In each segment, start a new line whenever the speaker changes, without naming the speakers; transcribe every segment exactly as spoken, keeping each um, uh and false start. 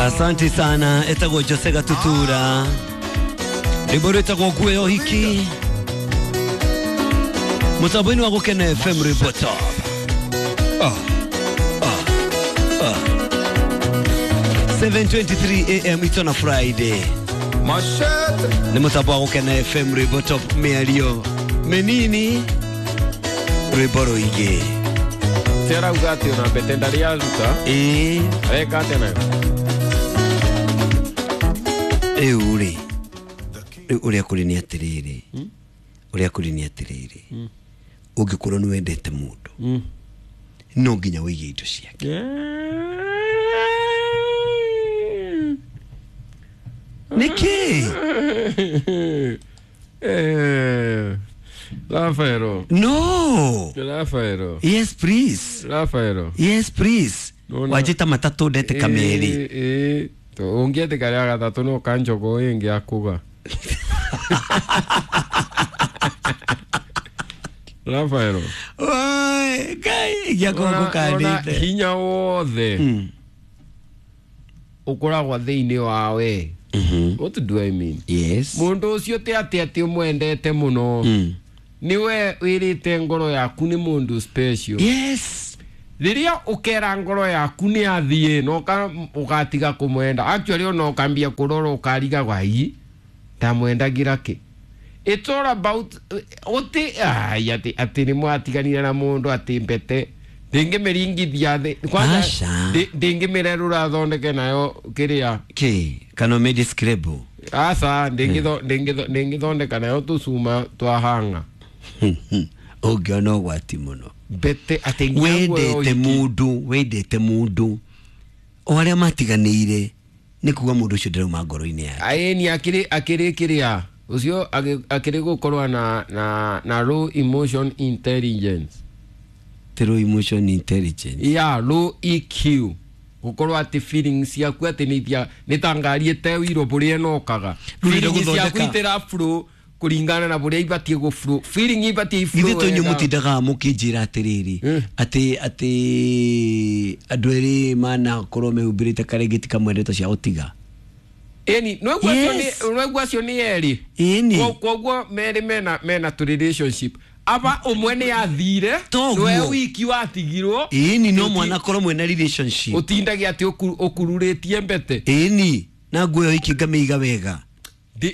Asante sana etagwo Jose Gatutura rwimbo rwĩtagwo nguo ya ũhiki mũtambo-inĩ wa Gũkena F M rwimbo top. Oh, oh, oh. seven twenty-three A M it's on a Friday.
Machete
nĩ mũtambo wa Gũkena F M rwimbo top mĩario mĩnini rwimbo rũingĩ.
Tiarauga atĩ ona mbete ndarĩ aruta.
Ĩĩ.
Areka atĩa nayo?
Rĩu rĩ, rĩu ũrĩa kũrĩ nĩ atĩrĩrĩ, ũrĩa kũrĩ nĩ atĩrĩrĩ, ũngĩkorwo nĩ wendete mũndũ no nginya wĩige indo ciake. Nĩkĩ?
Eh, Rafaelo.
No.
Rafaelo.
Yes please.
Rafaelo.
Yes please. Wajita matatũ ndete kameri.
Eh, ũngĩetĩka rĩa gatatũ no kanjogo ĩngĩ akuga. Rafaelo.
Oi, Ngai gĩakwa ngũkandĩte.
Hinya wothe ũkoragwo thĩinĩ wa we. What do I mean?
Yes.
Mũndũ ũcio ti atĩ atĩ ũmwendete mũno. Niwe wĩrĩte ngoro yaku nĩ mũndũ special.
Yes.
Rĩrĩa ũkera ngoro yaku nĩ athiĩ no ũgatiga kũmwenda. Actually ona ũkambia kũrora ũkariga wai ndamwendagira kĩ. It's all about ũti ai atĩ atĩ nĩ mwatiganire na mũndũ atĩ mbete ndĩngĩmĩringithia thĩ kwanza ndĩngĩmĩrerũra thondeke nayo kĩrĩa
kĩ kana ũmĩdescribe.
Aca ndĩngĩthondeka nayo tũcuma twa hanga.
Ũngĩona ũgwati mũno.
Mbete atĩ
wendete mũndũ wendete mũndũ o arĩa matiganĩire nĩ kuga mũndũ ũcio ndarauma ngoro-inĩ yake.
Aĩni akĩrĩ akĩrĩ kĩrĩa ũcio akĩrĩ gũkorwo na na na low emotion intelligence.
Low emotion intelligence.
Yeah, low E Q. Gũkorwo atĩ feelings ciaku atĩ nĩ ithia nĩ ta ngari ĩtewirwo bũrĩa ĩnokaga. Feelings ciaku itĩra flow kũringana na bũrĩa ibatiĩ gũ flow. Feeling ibatiĩ flow.
Githĩ to inyuĩ mũtindaga mũkĩnjĩra atĩrĩrĩ atĩ atĩ andũ erĩ manakorwo mehumbĩrĩte karengeti kamwe ndeto cia gũtiga.
Ĩni no acio nĩ erĩ.
Ĩni.
Koguo merĩ mena mena to relationship. Aba ũmwe nĩ athire nĩwe wiki watigirwo.
Ĩni no mwana korwo mwena relationship.
Ũtindagia atĩ ũkururĩtie mbete.
Ĩni na nguo ĩyo ngamĩiga wega.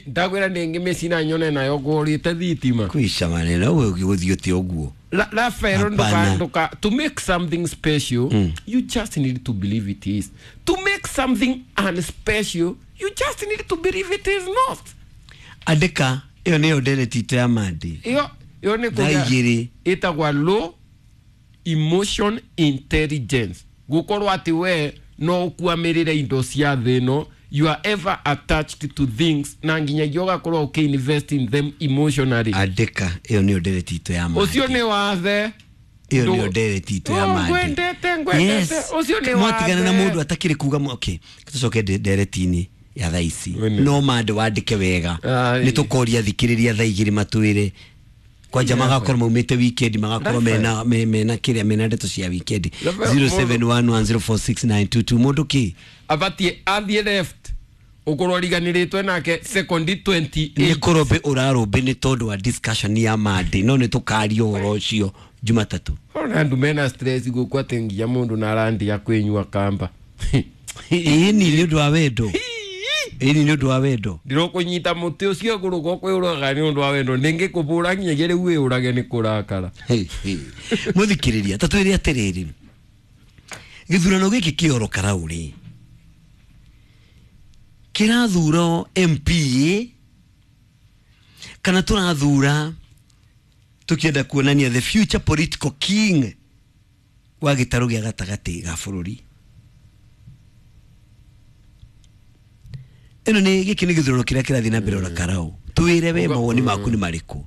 Ndagwĩra ndĩngĩmĩcina nyone nayo ngũrĩte thitima.
Kwisha maneno wewe ũgĩthiĩ ũte ũguo.
Rafael nduka nduka to make something special mm. you just need to believe it is. To make something unspecial you just need to believe it is not.
Andĩka ĩyo nĩyo ndereti itũ ya Monday.
Ĩyo ĩyo nĩ
kũgĩa
ĩtagwa low emotion intelligence. Gũkorwo atĩ we no ũkuamĩrĩre indo cia thĩ ĩno. You are ever attached to things na nginyagia ũgakorwo ũkĩ-invest in them emotionally.
Andĩka ĩyo nĩyo ndereti itũ ya Monday.
Ũcio nĩ wathe.
Ĩyo nĩyo ndereti itũ ya Monday.
Ngwendete ngwendete ũcio nĩ wathe.
Mwatigana na mũndũ atakĩrĩ kuga okay tũcoke ndereti-inĩ ya thaa ici no Monday wandĩke wega nĩ tũkoria thikĩrĩria thaa igĩrĩ matwĩre kwanja magakorwo maumĩte weekend magakorwo mena mena kĩrĩa mena ndeto cia weekend. Zero seven one one zero four six nine two two mũndũ kĩ
abatie athiĩ left ũkorwo riganĩrĩtwe nake second twenty eight.
Nĩ kũrũmbĩ ũrarũmbĩ nĩ tondũ wa discussion ya Monday no nĩ tũkaria ũhoro ũcio Jumatatũ.
Ona andũ mena stress gũkũ atĩ nginya mũndũ na arandia kwĩnyua kamba.
Ĩni nĩ ũndũ wa wendo. Ĩni nĩ ũndũ wa wendo.
Ndirokũnyita mũtĩ ũcio igũrũ gũkwĩũraga nĩ ũndũ wa wendo ndĩngĩkũbũra nginyagia rĩu wĩũrage nĩ kũrakara.
Mũthikĩrĩria ta twĩre atĩrĩrĩ gĩthurano gĩkĩ kĩoro Karaũ-rĩ kĩrathura M P kana tũrathura tũkĩenda kuonania the future political king wa gĩtarũ gĩa gatagatĩ ga bũrũri. Ĩno nĩ gĩkĩ nĩ gĩthurano kĩrĩa kĩrathiĩ na mbere ora Karaũ. Twĩre we mawoni maku nĩ marĩkũ.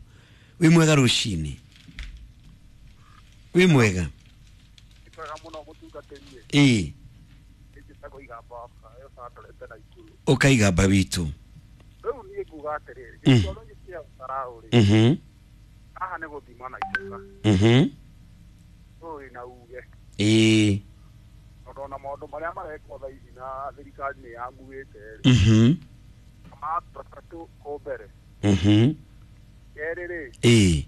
Wĩ mwega rũcinĩ. Wĩ mwega. Ĩĩ. Ũkaigamba witũ.
Rĩu niĩ nguga atĩrĩrĩ gĩthurano gĩkĩ kĩa Karaũ rĩ
Mhm.
haha nĩ gũthima na icoka.
Mhm.
Ũĩ na uge.
Ĩĩ.
No Tondũ ona maũndũ marĩa marekwo thaa ici na thirikari nĩ yamuĩte rĩ.
Mhm.
Matatũ kũ mbere.
Mhm.
Kerĩ rĩ,
Ĩĩ.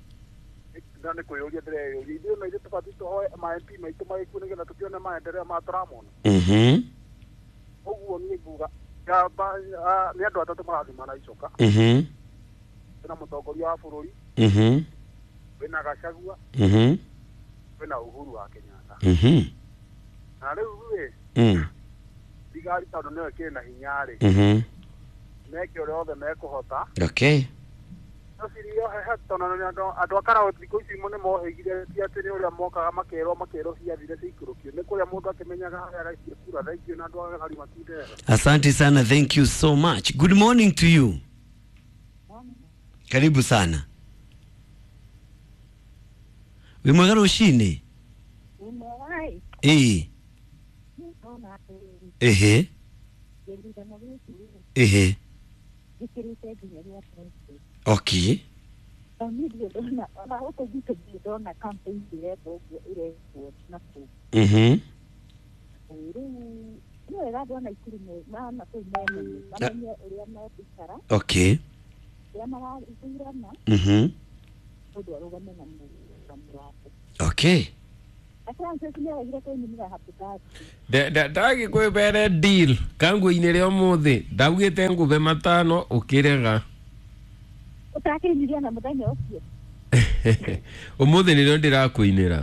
na nĩ kwĩyũria ndĩreyũria ithuĩ na ithuĩ tũbatiĩ tũhoe ma M P maitũ magĩkue nĩgetha tũkĩone maendeleo ma tũramona.
Mhm.
Ũguo niĩ nguga ngamba ah, nĩ andũ atatũ marathimana icoka.
Mhm.
Kwĩna mũtongoria wa bũrũri,
Mhm.
kwĩna Gachagua,
Mhm.
kwĩna Uhuru wa Kenyatta.
Mhm.
Na rĩu rĩ,
Mm.
thigari tondũ nĩyo ĩkĩrĩ na hinya rĩ,
Mhm.
meke ũrĩa othe mekũhota.
Okay.
No cirio hehe tondũ nĩ andũ andũ a Karau thikũ ici nĩ mohĩgire ti atĩ nĩ ũrĩa mokaga makerwo makerwo ciathire ciikũrũkio nĩ kũrĩa mũndũ akĩmenyaga harĩa araikie kura thaingĩ na andũ a Gari matindera.
Asante sana, thank you so much. Good morning to you. Karibu sana. Wĩ mwega rũcinĩ?
Umewahi
Ĩĩ.
ndona atĩrĩrĩ,
Ehe.
gĩthurano gĩkĩ rĩ,
Ehe.
gĩkĩrĩte nginya gĩa president.
Okay.
Na niĩ ndirĩ ndona ona gũkũ gwitũ ndirĩ ndona campaign ĩrekwo ũguo ĩrekwo na kũu.
Mhm.
Rĩu nĩ wega andũ a Naikuru me- ma na kũu memenye mamenye ũrĩa megũikara,
Okay.
ũrĩa marathurana,
Mhm.
mũndũ arũgame na mũrũgamo wake.
Okay.
Na Francis nĩaregire kũnyumĩra happy birthday.
Ndagĩkwĩbere deal kanguinĩ rĩa ũmũthĩ ndaugĩte ngũbe matano ũkĩrega.
Ũtakĩinyuria na mũthenya ũcio.
Ũmũthĩ nĩrĩo ndĩrakũinĩra.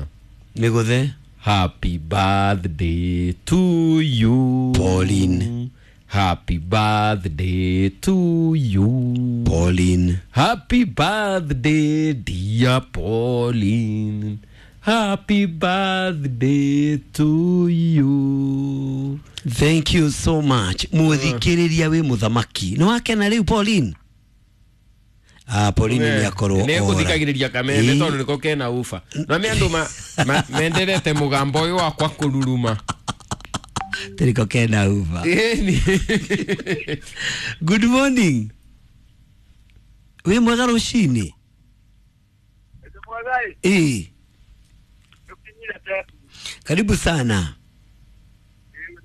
Mĩgũthe.
Happy birthday to you,
Pauline.
Happy birthday to you,
Pauline.
Happy birthday dear Pauline. Happy birthday to you.
Thank you so much. Muthikĩrĩria wĩ mũthamaki. Nĩ wakena rĩu Pauline? Ah, Pauline nĩ akorwo
nä
ora.
gå thikagä rä ria kameme
Ĩĩ.
tondå nä ko kena uba no me andå ma- ma- menderete må gambo å yå wakwa kå ruruma.
Tĩrĩko kena uba.
Ĩni.
Good morning. Wĩ mwega rũcinĩ?
Mwagai
Ĩĩ.
tukinyire te
Karibu sana.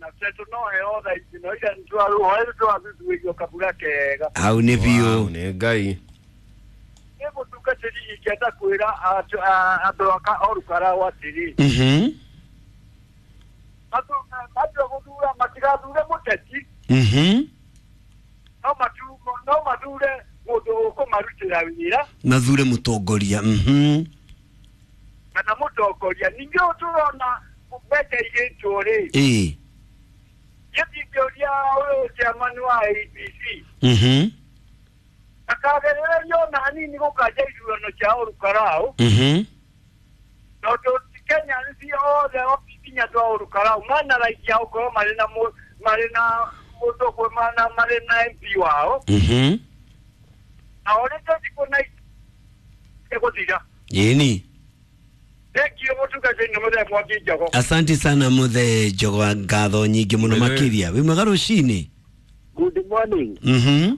na tetu no heo thaa ici no ira nĩtwaruhoe twathuthurio kabura kega.
Hau nĩ
Wow,
biũ.
nĩ Ngai.
Nĩ mũtungatĩri ingĩenda kwĩra andũ- a- andũ a Ka- Olkarau atĩrĩ,
Mhm.
mathu- matua gũthura matigathure mũteti,
Mhm.
no matu- no mathure mũndũ ũkũmarutĩra wĩra
Mathure mũtongoria. Mhm.
kana mũtongoria. Ningĩ ũũ tũrona mbeca igĩtwo rĩ,
Ĩĩ.
gĩtingĩũria ũyũ chairman wa A B C
Mhm.
akagerererio ona hanini gũkanja ithurano cia Olkarau,
Mhm.
tondũ Kenya nĩ othe nginya andũ a Olkarau mana raithi ya gũkorwo marĩ na mũ- marĩ na mũndũ ũmwe mana marĩ na M P wao,
Mhm.
na orĩte thikũ na ĩgũthira.
Ĩni.
Thengiũ mũtungatĩri nĩ mũthee Mwangi Njogo.
Asante sana muthe Njogo, ngatho nyingĩ mũno
Wĩ-
makĩria. Wĩ mwega rũcinĩ?
Good morning.
Mhm.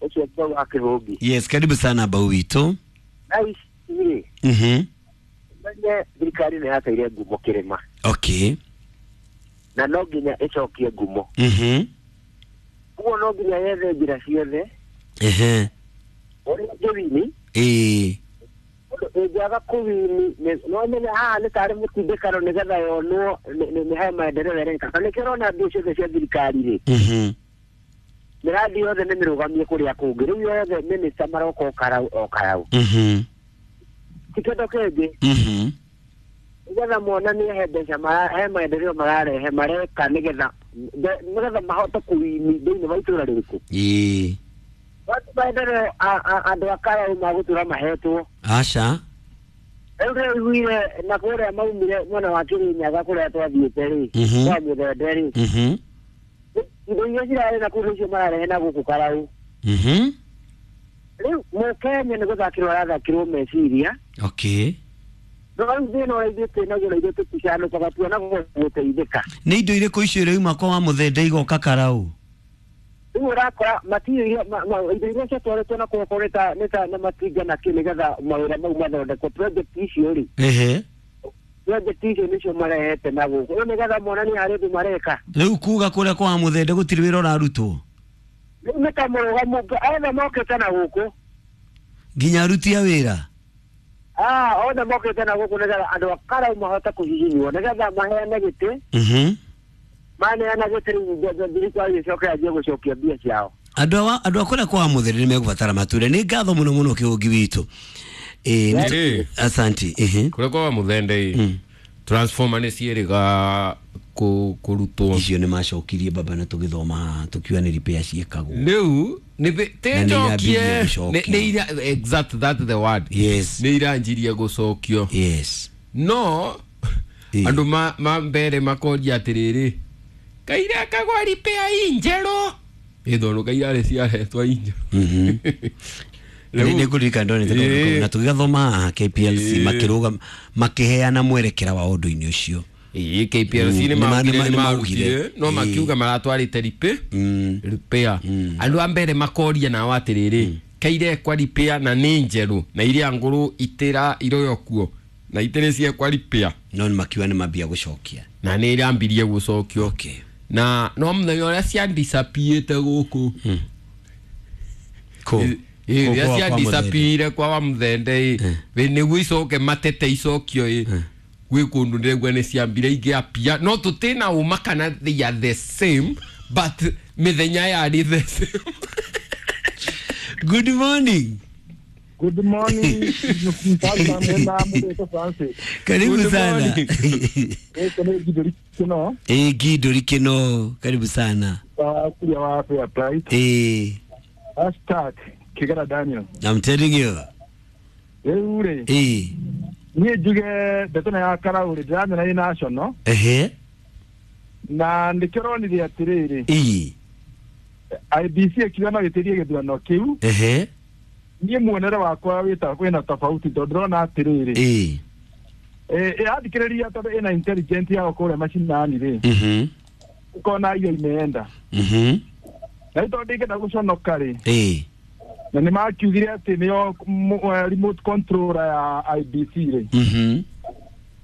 Ũcio Paul wa Kĩhũngi.
Yes, karibu sana bau witũ.
Nice rĩ,
Mhm.
menye thirikari nĩ yateire ngumo kĩrĩma
Okay.
na no nginya ĩcokie ngumo.
Mhm.
Ũguo no nginya yethe njĩra ciothe
Ehe.
ũrĩa ĩngĩwini,
Ĩĩ.
ũndũ ĩngĩaga kũwini nĩ- no menya haha nĩ tarĩ mũtindĩkano nĩgetha yonwo nĩ- nĩ nĩ he maendeleo ĩreka. Na nĩkĩo ũrona mbia ciothe cia thirikari rĩ,
Mhm.
mĩradi yothe nĩ mĩrũgamie kũrĩa kũngĩ. Rĩu yothe mĩnĩsta maroka o Karau o Karau.
Mhm.
Ti kĩndũ kĩngĩ
Mhm.
nĩgetha monanie he mbeca mara- he maendeleo mararehe mareka nĩgetha nde- nĩgetha mahote kũwini thĩinĩ wa itũra rĩrĩkũ.
Ĩĩ.
Watu maendeleo a- a- andũ a Karau magũtũra mahetwo.
Aca.
Rĩu ndĩraiguire na kũrĩa maumire mwena wa Kĩrĩnyaga kũrĩa twathiĩte rĩ,
Mhm.
kwa Mũthende rĩ,
Mhm.
indo iria cirarĩ na kũu nĩcio mararehe na gũkũ Karau.
Mhm.
Rĩu mũkenya nĩ gũthakĩrwo arathakĩrwo meciria.
Okay.
No rĩu thĩna ũrĩa ithuĩ twĩnaguo na ithuĩ tũticanũkaga tuonagwo gũteithĩka.
Nĩ indo irĩkũ icio irauma kwa wa Mũthende igoka Karau?
Rĩu ũrakora matirĩ irio ma- ma- indo iria ciatwarĩtwo na kũu nĩ ta nĩ ta na matinga na kĩ nĩgetha mawĩra mau mathondekwo project icio rĩ,
Ehe.
Budget icio nĩcio marehete na gũkũ rĩu nĩgetha monanie harĩ ũndũ mareka.
Rĩu kuga kũrĩa kwa Muthende gũtirĩ wĩra ũrarutwo.
Rĩu nĩ ta mũrũgamo othe mokĩte na gũkũ
nginya aruti a wĩra.
Ah, othe mokĩte na gũkũ nĩgetha andũ a Karau mahote kũhihinywo nĩgetha maheane gĩtĩ.
Mhm.
Maneana gĩtĩ rĩu thirikari ĩcoke yanjie gũcokia mbia ciao.
Andũ a andũ a kũrĩa kwa Muthende nĩ megũbatara matũre. Nĩ ngatho mũno mũno kĩũngi witũ. Eh,
Ĩ.
asanti. Ehe.
Kũrĩa kwa Muthende ĩ
Mm.
transformer nĩ ciĩrĩga kũ- kũrutwo.
Icio nĩ macokirie baba na tũgĩthoma haha tũkiuga nĩ repair ciĩkagwo.
Rĩu nĩ
Na
tĩ
nĩ
njokie
irambirie gũcokio.
nĩ ira exact that the word.
Yes.
Nĩ iranjirie gũcokio.
Yes.
No
Ĩ.
andũ ma ma mbere makoria atĩrĩrĩ kaira kagwa repair injerũ ĩthono kaira rĩ ciaretwo injerũ.
Mhm.
Rĩu-
nĩ ngũririkana ndonete kaũndũ
Ĩ.
kau na tũgĩgathoma haha K P L C
Ĩ.
makĩrũgama makĩheana mwerekera wa ũndũ-inĩ ũcio.
Ĩ, K P L C
Mm,
nĩ
nĩ ma-
maugire
nĩ ma-
nĩ
nĩ
maugire
maugire.
no
Ĩ.
makiuga maratwarĩte repair
Mm.
repair andũ a mbere makoria nao atĩrĩrĩ kairekwa repair na nĩ njerũ na iria ngũrũ itĩra iroyo kuo na itĩrĩ ciekwa repair
No nĩ makiuga nĩ mambia gũcokia.
na nĩ irambirie gũcokio.
Okay.
Na no mũthenya ũrĩa ciandisapiĩte gũkũ
Kũ?
Ĩ- ĩ,
Kũ
rĩrĩa
kwa- kwa Muthende.
ciandisapiire kwa wa Muthende ĩ ĩ, nĩguo icoke matete icokio ĩ gwĩ kũndũ ndĩraigua nĩ ciambire ingĩapia no tũtĩna ũma kana they are the same but mĩthenya yarĩ the same.
Good morning.
Good morning. Mfalme na Mudeko Francis.
Karibu
Good
sana.
morning.
Gĩkĩ nĩ Ngindũri Kĩno,
Eh, Ngindũri Kĩno, karibu sana.
wa kuria wa Fair Price.
Eh,
Hashtag Kĩgera Daniel.
I'm telling you.
Rĩu rĩ,
Eh,
niĩ njuge ndeto ĩno ya Karau rĩ, ndĩramenya ĩ national
ehe.
na nĩkĩo ũronire atĩrĩrĩ,
Eh,
I B C ĩkiuga no ĩtĩrie gĩthurano kĩu,
ehe.
niĩ muonere wakwa wĩta wĩna tofauti tondũ ndĩrona atĩrĩrĩ,
Eh.
ĩ- ĩrathikĩrĩria tondũ ĩna intelligent yao kũrĩa macinani rĩ,
Mhm.
ũkona iyo imeenda.
Mhm.
Na rĩu tondũ ndingĩenda gũconoka rĩ,
Eh.
na nĩ makiugire atĩ nĩo m- eh, remote controller ya I B C rĩ,
Mhm.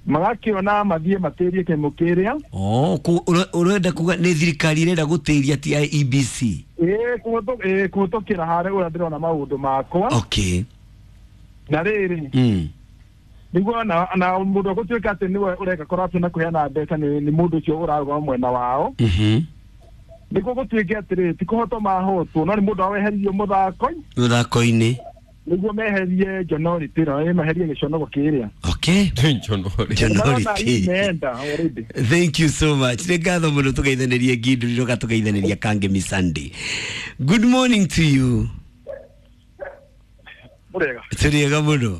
magakĩona mathiĩ matĩrie kĩmũ kĩrĩa.
Oh, ku- ure- urenda kuga nĩ thirikari ĩrenda gũtĩria ti I E B C.
Ĩĩ, kũhĩtũ- ĩĩ, kũhĩtũkĩra harĩa ũrĩa ndĩrona maũndũ makwa.
Okay.
Na rĩrĩ,
Mm.
nĩguo na na mũndũ ũgũtuĩka atĩ nĩwe ũreka corruption na kũheana mbeca nĩ nĩ mũndũ ũcio ũrarũgama mwena wao.
Mhm.
Nĩguo gũtuĩke atĩrĩrĩ, ti kũhotwo mahotwo, no nĩ mũndũ weheririo mũthako
Mũthako-inĩ.
nĩguo meherie njonority ĩno, ĩ, meherie gĩconoko kĩrĩa.
Okay.
Njonority.
Njonority.
Imeenda already.
Thank you so much. Nĩ ngatho mũno tũgeithanĩrie Ngindũri roka tũgeithanĩria Kangemi Sunday. Good morning to you.
Mũrĩega.
Tũrĩega mũno.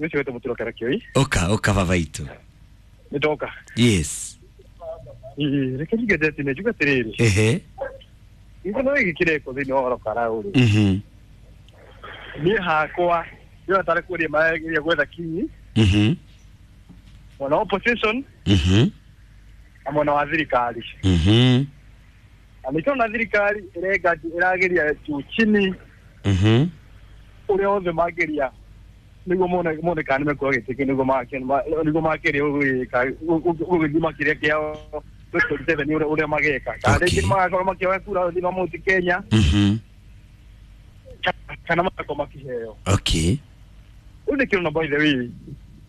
Ũcio wĩtwo Mũturo Karakioi.
Oka, oka baba itũ.
Nĩ ndoka.
Yes.
Ĩĩ, reke njuge ndeti-inĩ, njuge atĩrĩrĩ.
Ehe.
Gĩthurano gĩkĩ kĩrekwo thĩinĩ wa Oro Karau rĩ.
Mhm.
Niĩ hakwa, ndĩrona tarĩ kũria marageria gwetha kinyi,
Mhm.
mwena wa opposition
Mhm.
na mwena wa thirikari.
Mhm.
Na nĩkĩo ona thirikari ĩrenga ĩrageria juu chini
Mhm.
ũrĩa othe mangĩria nĩguo mone mone kana nĩmekuoya gĩtĩ kĩu nĩguo make- ma- nĩguo makĩria gũgĩka gũgĩthima kĩrĩa kĩao twenty twenty-seven ũrĩa ũrĩa mageka. Kana
Okay.
rĩngĩ magakorwo makĩoya kura thĩinĩ wa Mount Kenya
Mhm.
kana magakorwo makĩheo.
Okay.
Rĩu nĩkĩo by the way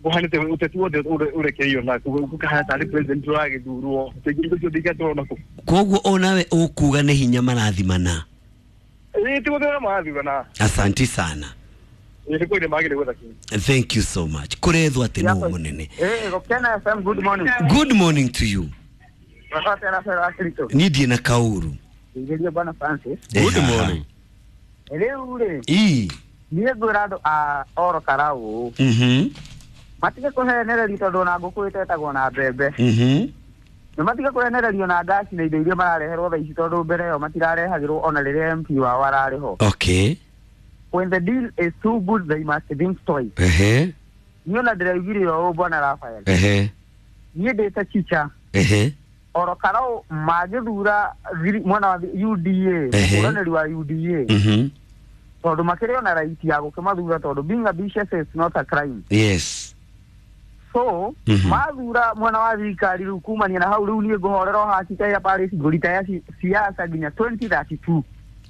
kũhanĩte ũteti wothe ũrekereirio na gũkahana tarĩ president ũragĩthurwo rĩngĩ indo ciothe igatwarwo nakũ.
Koguo onawe ũkuga nĩ hinya marathimana.
Ĩĩ, ti gũthurana marathurana.
Asanti sana.
Ĩĩ, nĩ kũrĩ magĩrĩire gwetha kinyi.
Thank you so much. Kũrethwo atĩ nũ mũnene.
Eh, Gokena F M, good morning.
Good morning to you.
Wakati na Fera Kristo.
Niĩ ndiĩ na kaũru.
Ngeria bwana Francis.
Good
Eh,
morning.
Rĩu rĩ,
Ii.
niĩ ngwĩra andũ a Oro Karau
Mhm.
matige kũhenererio tondũ ona ngũkũ ĩtetagwo na mbembe.
Mhm.
Nĩ matige kũhenererio na ngaci na indo iria marareherwo thaa ici tondũ mbere ĩyo matirarehagĩrwo ona rĩrĩa M P wao ararĩ ho.
Okay.
When the deal is too good they must think twice.
Ehe.
Niĩ ona ndĩraugire ũũ bwana Raphael.
Ehe.
Niĩ ndĩ ta chicha.
Ehe.
Oro Karau magĩthura thiri- mwena wa U D A,
Ehe.
mũhũranĩri wa U D A.
Mhm.
Tondũ makĩrĩ ona right ya gũkĩmathura tondũ being ambitious is not a crime.
Yes.
So
Mhm.
mathura mwena wa thirikari rĩu kumania na hau rĩu niĩ ngũhorera o haha Chikahia Parish ngũritaya siasa nginya twenty thirty two.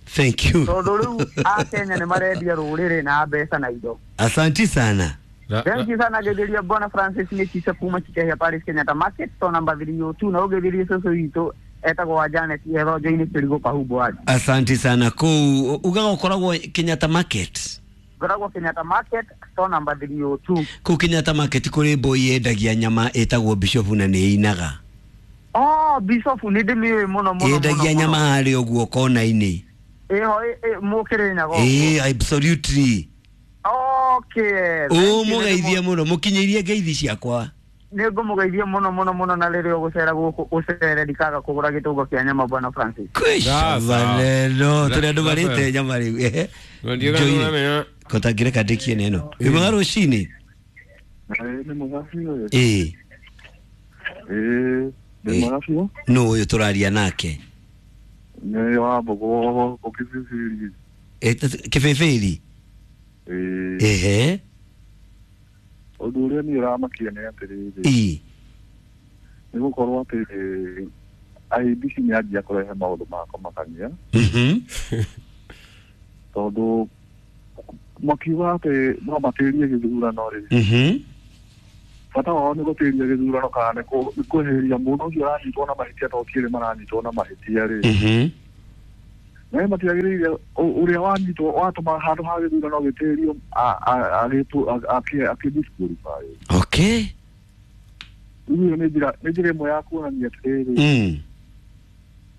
Thank you.
Tondũ rĩu akenya nĩ marendia rũrĩrĩ na mbeca na indo.
Asanti sana.
Thank you sana getheria Bwana Francis nĩ Chicha kuma Chikahia Parish Kenyatta Market to number three oh two na ũgetherie cũcũ witũ etagwo wa Janet Ethonjo-inĩ Kĩrigũ Kahumbu waji.
Asanti sana kũu ugaga ũkoragwo Kenyatta Market.
Ngoragwo Kenyatta Market store number three oh two.
Kũu Kenyatta Market kũrĩ mbũi yendagia nyama ĩtagwo Bishop na nĩ ĩinaga.
Oh, Bishop nĩ ndĩmĩũĩ mũno mũno.
Yendagia nyama harĩa ũguo kona-inĩ.
Ĩho mũkĩrĩ nyago.
Ĩĩ, absolutely.
Okay.
Ũmũgeithie mũno, mũkinyĩirie ngeithi ciakwa.
Nĩ ngũmũgeithia mũno mũno mũno na rĩrĩa ũgũcera gũkũ ũcere ndikaga kũgũra gĩtũngo kĩa nyama Bwana Francis.
Kwĩcabaneno tũrĩ andũ marĩte nyama rĩu. Njoire kotangĩreka ndĩkie neno. Wĩ mwega rũcinĩ?
Nĩ mwega biũ.
Ĩĩ.
Ĩĩ, nĩ mwega biũ.
Nũ ũyũ tũraria nake?
Nĩ wa Mbogo Kĩbĩbĩri.
Kĩbĩbĩri?
Ĩĩ.
Ehe.
Ũndũ ũrĩa niĩ ũramakia nĩ atĩrĩrĩ.
Ĩĩ.
Nĩ gũkorwo atĩ I B C nĩ yanjia kũrehe maũndũ ma kũmakania.
Mhm.
Tondũ makiuga atĩ no matĩrie gĩthurano rĩ.
Mhm.
Bata wao nĩ gũtĩria gĩthurano kana nĩ kweheria mũndũ ũcio ũranyitwo na mahĩtia to ti erĩ maranyitwo na mahĩtia rĩ.
Mhm.
Na matiagĩrĩire ũrĩa wanyitwo watũma handũ ha gĩthurano gĩtĩrio akĩ-disqualify.
Okay.
Rĩu nĩ njĩra nĩ njĩra ĩmwe ya kuonania atĩrĩrĩ.
Mm.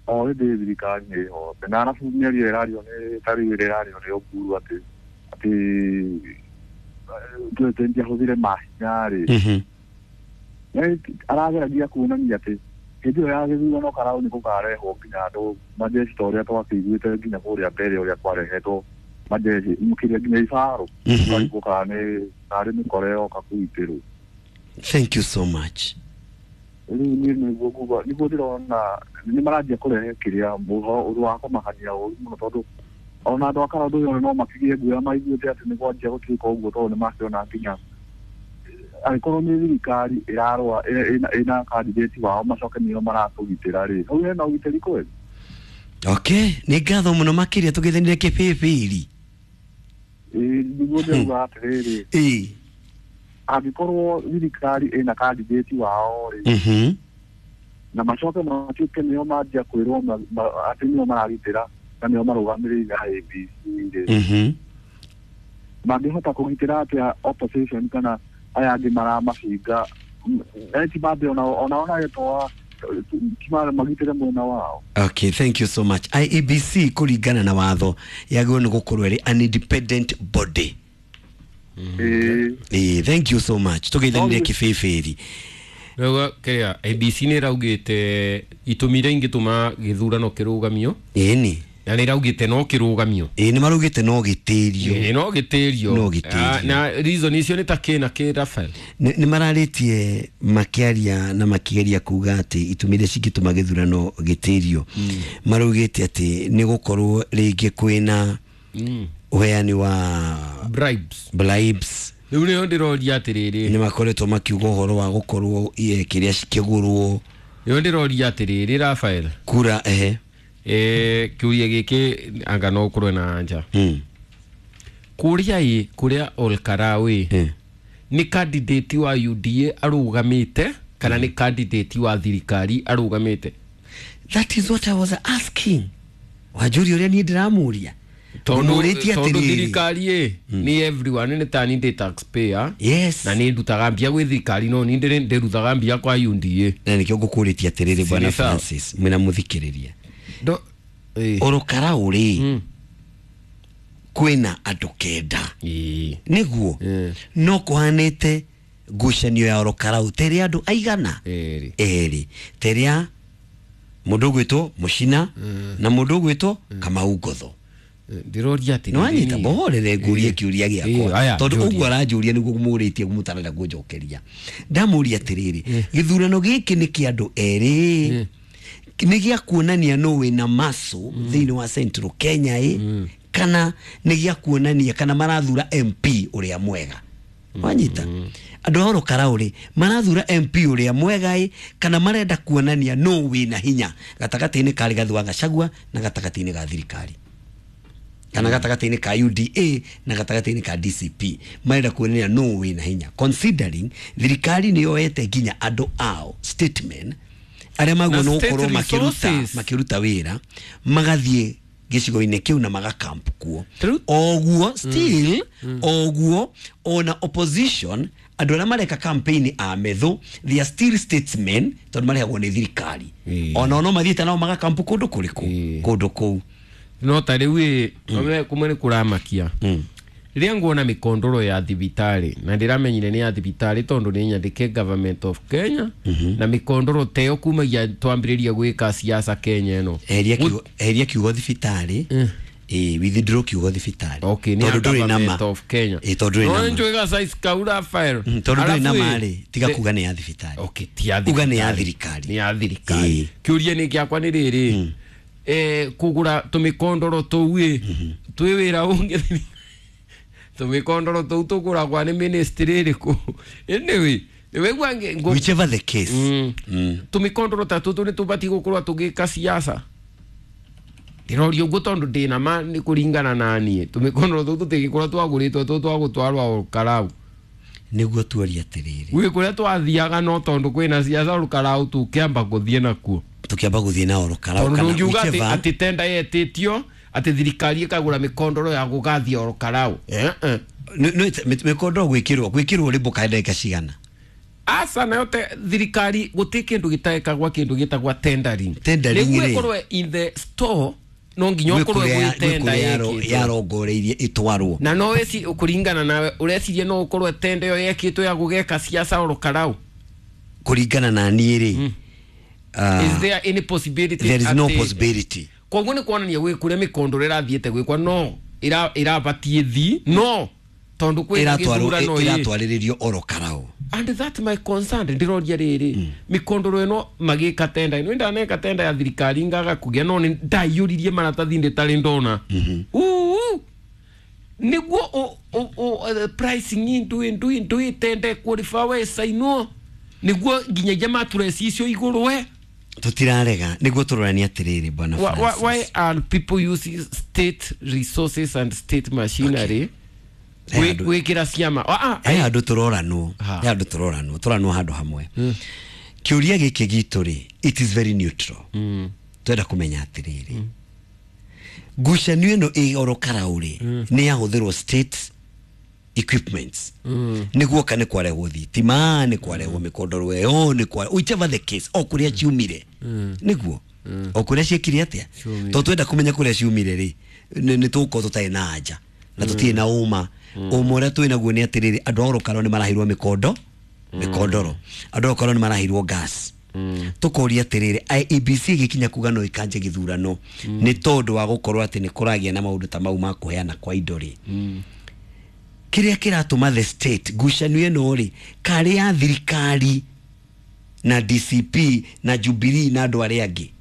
O hĩndĩ thirikari nĩ ĩhote na arabu mĩario ĩrario nĩ ta rĩu ĩrĩa ĩrario nĩ Oburu atĩ atĩ president ahũthĩre mahinya rĩ.
Mhm.
Arageragia kuonania atĩ hĩndĩ ĩyo ya gĩthurano karau nĩ gũkarehwo nginya andũ majeshi ta ũrĩa twakĩiguĩte nginya kũrĩa mbere ũrĩa kwarehetwo majeshi kĩrĩa nginya ibarũ ũkarigwo kana nĩ karĩ mĩkora yoka kũgitĩrwo.
Thank you so much.
Rĩu niĩ nĩguo nguga nĩguo ndĩrona nĩ maranjia kũrehe kĩrĩa ũndũ wa kũmakania ũru mũno tondũ ona andũ a Karau ũyũ no makĩgĩe guoya maiguĩte atĩ nĩ kwanjia gũtuĩka ũguo tondũ nĩ makĩona nginya angĩkorwo nĩ thirikari ĩrarũa ĩna candidate wao macoke nĩo maratũgitĩra rĩ hau hena ũgitĩri kweli.
Okay, nĩ ngatho mũno makĩria tũgeithanire Kĩbĩbĩri.
Ĩĩ, nĩguo ndĩrauga atĩrĩrĩ.
Ĩĩ.
Angĩkorwo thirikari ĩna candidate wao rĩ.
Mhm.
Na macoke matuĩke nĩo manjia kwĩrwo atĩ nĩo maragitĩra na nĩo marũgamĩrĩire I B C rĩ.
Mhm.
Mangĩhota kũgitĩra atĩa opposition kana aya angĩ maramabinga ti mambe ona ona ona gĩtoa ti magitĩre mwena wao.
Okay, thank you so much. I E B C kũringana na watho yagĩrĩirwo nĩ gũkorwo ĩrĩ an independent body.
Ĩĩ.
Ĩĩ, thank you so much. Tũgeithanire Kĩbĩbĩri.
Rĩu kĩrĩa I B C nĩ ĩraugĩte itũmi iria ingĩtũma gĩthurano kĩrũgamio.
Ĩni.
Na nĩ ĩraugĩte no kĩrũgamio.
Ĩĩ, nĩ maraugĩte no gĩtĩrio.
Ĩĩ, no gĩtĩrio.
No gĩtĩrio.
Na reason icio nĩ ta kĩ na kĩ Raphael?
Nĩ mararĩtie makĩaria na makĩgeria kuga atĩ itũmi iria cingĩtũma gĩthurano gĩtĩrio. Maraugĩte atĩ nĩ gũkorwo rĩngĩ kwĩna ũheani wa
bribes.
Bribes.
Rĩu nĩyo ndĩroria atĩrĩrĩ.
Nĩ makoretwo makiuga ũhoro wa gũkorwo kĩrĩa cikĩgũrwo.
Nĩyo ndĩroria atĩrĩrĩ Raphael.
Kura ehe.
Eh, kĩũria gĩkĩ anga no ũkorwo na anja.
Mm.
Kũrĩa ĩ kũrĩa Olkarau ĩ nĩ candidate wa U D A arũgamĩte kana nĩ candidate wa thirikari arũgamĩte?
That is what I was asking. Wanjũria ũrĩa niĩ ndĩramũria.
Tondũ tondũ thirikari ĩ nĩ everyone nĩ ta ni taxpayer.
Yes.
Na nĩ ndutaga mbia gwĩ thirikari no nĩ ndĩrutaga mbia kwa U D A.
Na nĩkĩo ngũkũrĩtie atĩrĩrĩ Bwana Francis mwĩna mũthikĩrĩria.
Do eh
Orokarau rĩ kwĩna andũ kenda.
Ĩĩ.
Nĩguo no kũhanĩte ngucanio ya Orokarau terĩ andũ aigana?
Erĩ.
Erĩ. Terĩa mũndũ ũgwĩtwo Mũcina na mũndũ ũgwĩtwo Kamau Ngotho.
Ndĩroria atĩrĩrĩ.
No anyita bohorere ngũrie kĩũria gĩakwa tondũ ũguo aranjũria nĩguo mũrĩtie mũtarenda kũnjokeria. Ndamũria atĩrĩrĩ, gĩthurano gĩkĩ nĩ kĩa andũ erĩ nĩ gĩa kuonania nũ wĩna maso thĩinĩ wa Central Kenya ĩ kana nĩ gĩa kuonania kana marathura M P ũrĩa mwega. Wanyita andũ a Orokarau rĩ marathura M P ũrĩa mwega ĩ kana marenda kuonania no wĩna hinya gatagatĩ-inĩ ka Rigathi wa Gachagua na gatagatĩ-inĩ ga thirikari kana gatagatĩ-inĩ ka U D A na gatagatĩ-inĩ ka D C P marenda kuonania no wĩna hinya considering thirikari nĩ yoete nginya andũ ao statement arĩa maguo no gũkorwo makĩruta makĩruta wĩra magathiĩ gĩcigo-inĩ kĩu na magakamp kuo oguo still mm. oguo ona opposition andũ arĩa mareka campaign a metho they are still statesmen tondũ marehagwo nĩ thirikari ona no mathiĩte nao magakamp kũndũ kũrĩkũ kũndũ kũu
no ta rĩu ĩ kumwe nĩ kũramakia rĩrĩa nguona mĩkondoro ya thibitarĩ na ndĩramenyire nĩ ya thibitarĩ tondũ nĩ nyandĩke government of Kenya na mĩkondoro teyo kumagia twambĩrĩria gwĩka siasa Kenya ĩno
eheria kiugo thibitarĩ eh withdraw kiugo thibitarĩ
okay nĩ government of Kenya
eh tondũ ndũrĩ
na njũiga size kaura file
tondũ ndũrĩ na marĩ tiga kuga nĩ ya thibitarĩ
okay ti ya thibitarĩ
uga nĩ ya thirikari
nĩ ya thirikari kĩũria nĩ gĩakwa nĩ rĩrĩ eh kugura tumikondoro tuu ĩ twĩ wĩra ũngĩ tumikondoro tuu tũgũragwa nĩ ministry ĩrĩkũ anyway wegwa
whichever the case
mm. Mm. tumikondoro ta tũtũ nĩ tũbatiĩ gũkorwo tũgĩka siasa ndĩroria ũguo tondũ ndĩna ma nĩ kũringana na niĩ tumikondoro tũtũ tũtigĩkorwo twagũrĩtwo tũ twagũtwarwo Olkarau
nĩguo tuoria atĩrĩrĩ
gwĩ kũrĩa twathiaga no tondũ kwĩna siasa Olkarau tũkĩamba gũthiĩ nakuo
tukiamba guthie na Olkarau
kana ndungiuga ati ati tenda yetitio ati thirikari ikagura mikondoro ya gugathia Olkarau eh eh
no mikondoro gwikirwo gwikirwo rimbo ka ndagika cigana
asa nayo thirikari guti kindu gitaekagwa kindu gitagwa tendering
tendering
niguo ikorwo in the store no nginya ukorwo gwi tenda
yarongoreirie itwarwo
na no weci kuringana nawe urecirie no ukorwo tenda yo yekitwo ya gugeka siasa Olkarau
kuringana na niĩ rĩ
mm. Uh, is there any possibility
there is no possibility
koguo ni kuonania gwi kuria mikondoro irathiete gwikwa no ira irabatie thi no tondu kwina githurano
iratwariririo Olkarau
and that my concern ndiroria riri mm. mikondoro ino magika tenda ino ndaneka tenda ya thirikari ngaga kugia no ndaiyuririe maratathi nditari ndona
mm -hmm.
uu niguo o pricing indu indu indu tenda qualify we saino niguo nginyagia maturesi icio iguru we
tutirarega niguo turorania atiriri bwana Francis
why, why are people using state resources and state machinery okay. Gwikira ciama ah
he handu turoranwo he handu turoranwo turanwo handu hamwe kiuria giki gitu ri it is very neutral
mm.
Twenda kumenya atiriri mm. Ngucanio ino ĩ Olkarau ri ni yahuthirwo state equipments
mm.
Niguo ka ni kwarehwo thitima ni kwarehwo mikondoro ĩyo ni kwa whichever the case o kuria ciumire
mm.
Niguo
mm.
o kuria ciekire atia to twenda kumenya kuria ciumire ri ni tuko tutarĩ na anja na tutirĩ na uma uma ũrĩa twĩ naguo nĩ atĩrĩrĩ andũ a Olkarau nĩ marahirwo mĩkondo mĩkondoro andũ a Olkarau nĩ marahirwo gas
Mm.
Tukoria atiriri I E B C gikinya kuga no ikanje githurano
mm.
Ni tondu wa gukorwo ati ni kuragia na maundu ta mau ma kuheana kwa indo ri
mm.
Kiria kiratuma the state ngucanio ino ri kari ya thirikari na D C P na Jubilee na andu aria angi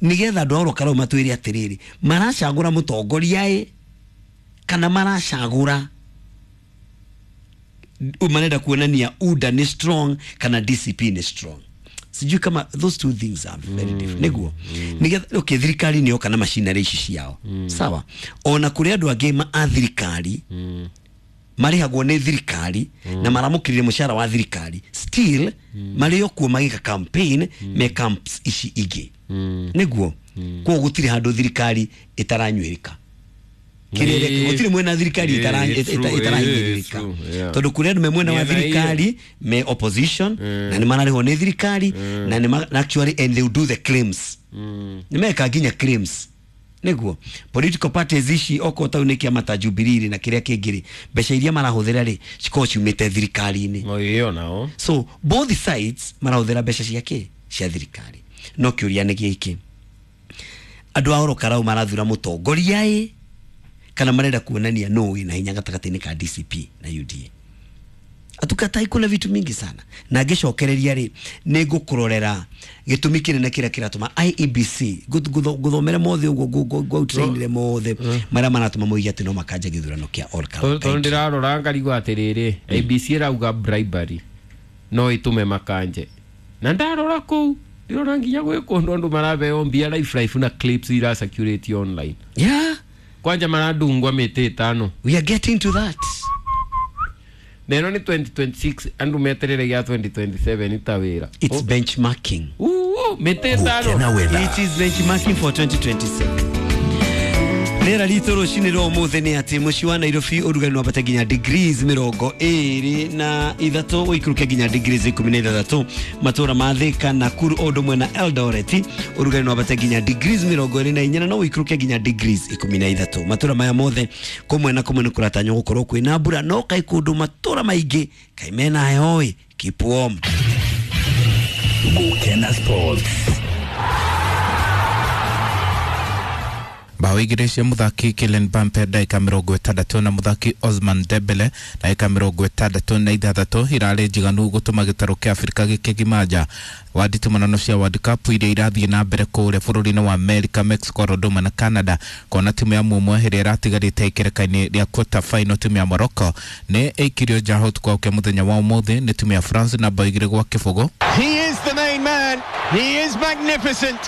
nigetha andu a Olkarau matwire atiriri maracagura mutongoria i kana maracagura umanenda kuonania U D A ni strong kana D C P ni strong sijui kama those two things are very mm. different niguo
mm.
Nigetha okay thirikari niyo kana machinery ici ciao
mm.
Sawa ona kuri andu angi ma a thirikari
mm.
marihagwo ni thirikari
mm.
na maramukirire mushara wa thirikari still
mm.
mario kuo magika campaign
mm.
me camps ici ingi
mm.
Niguo
mm.
Koguo gutiri handu thirikari itaranyuirika kirere gutiri mwena thirikari itaranyuirika tondu kuri andu me mwena wa thirikari me opposition
mm.
na ni mararihwo ni thirikari
mm.
na ni actually and they will do the claims
mm.
Ni meka nginya claims Niguo political parties ici oko tau ni kiama ta Jubilee na kiria kingi mbeca iria marahuthira ri cikorwo ciumite thirikari-ini
no iyo nao
so both sides marahuthira mbeca cia ki cia thirikari no kiuria ni giki andu a Olkarau marathura mutongoria i kana marenda kuonania no wina hinya gatagatĩ-inĩ ka D C P na U D A Atukatai, kuna vitu mingi sana na ngĩcokereria rĩ, nĩ ngũkũrorera gĩtũmi kĩnene kĩrĩa kĩratũma I E B C nguthomere mothe ũguo, ngwautĩrainire mothe marĩa maratũma moige atĩ no makanja gĩthurano kĩa Ol Kalou.
Tondũ ndĩrarora ngarigwo atĩrĩrĩ, A B C ĩrauga bribery no ĩtũme makanje, na ndarora kũu ndĩrona nginya gwĩ kũndũ andũ marabeo mbia life life na clips ira circulate online.
Yeah.
Kwanja maradungwa mĩtĩ ĩtano.
We are getting to that.
Na ĩno nĩ twenty twenty-six, andũ meterere gĩa twenty twenty-seven ita wĩra.
It's benchmarking.
Uu, mĩtĩ ĩtano.
Gukena Weather.
It is benchmarking for twenty twenty-six. Rĩera ritũ rũcinĩ rwa ũmũthĩ nĩ atĩ mũciĩ wa Nairobi ũrugarĩ no wambate nginya degrees mĩrongo ĩrĩ na ithatũ, ũikũrũke nginya degrees ikũmi na ithathatũ. Matũra ma Thĩka, Nakuru o ũndũ ũmwe na Eldoret, ũrugarĩ no wambate nginya degrees mĩrongo ĩrĩ na inya na no ũikũrũke nginya degrees ikũmi na ithatũ. Matũra maya mothe kũmwe na kũmwe nĩ kũratanywo gũkorwo kwĩna mbura, no kaĩ kũndũ matũra maingĩ kaĩ mena heho ĩ. Keep warm.
Gukena Sports.
Bao igĩrĩ cia mũthaki Kylian Mbappe ndagĩka mĩrongo ĩtandatũ na mũthaki Ousmane Dembele ndagĩka mĩrongo ĩtandatũ na ithathatũ irarĩ njiganu gũtũma gĩtarũ kĩa Afrika gĩkĩgima wa nditimũrano cia World Cup iria irathiĩ na mbere kũrĩa bũrũri-inĩ wa America, Mexico, Dodoma na Canada, kuona timu ya Mumwe ĩrĩa ĩratigarĩte ikereka-inĩ rĩa quarter final, timu ya Morocco nĩ ĩikirio nja ũtukũ wa mũthenya wa ũmũthĩ nĩ timu ya France na bao igĩrĩ gwa kĩbũgũ.
He is the main man. He is magnificent.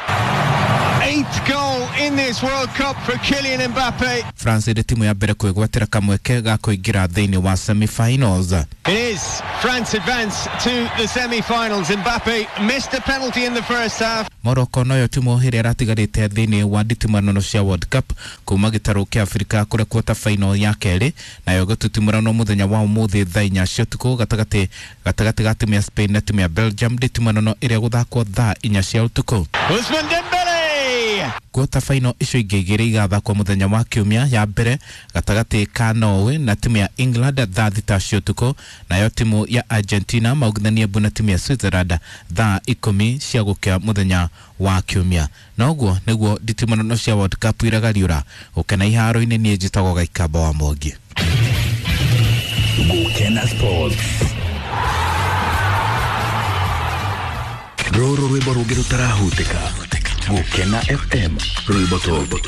Eighth goal in this World Cup for Kylian Mbappe.
France ĩrĩ timu ya mbere kwĩgwatĩra kamweke ga kũingĩra thĩinĩ wa semi-finals.
It is. France advance to the semi-finals. Mbappe missed a penalty in the first half.
Morocco noyo timu ĩrĩa ĩratigarĩte thĩinĩ wa nditimũrano cia World Cup kuma gĩtarũ kĩa Afrika kũrĩa quarter final ya kerĩ nayo gũtitimũranwo mũthenya wa ũmũthĩ thaa inya cia ũtukũ gatagatĩ gatagatĩ ga timu ya Spain na timu ya Belgium, nditimũrano ĩrĩa gũthakwo thaa inya cia ũtukũ.
Ousmane Dembele.
Quarter final icio ingĩ igĩrĩ igathakwo mũthenya wa kiumia, ya mbere gatagatĩ ka Norway na timu ya England thaa thita cia ũtukũ, nayo timu ya Argentina maugithanie mbu na timu ya Switzerland thaa ikũmi cia gũkĩa mũthenya wa kiumia. Na ũguo nĩguo nditimũrano cia World Cup iragariũra gũkena iharo-inĩ. Niĩ njĩtagwo Gaikamba wa Mwangi.
Gukena Sports. Rũrũ rwĩmbo rũngĩ rũtarahutĩka. Gukena F M, rwĩmbo top.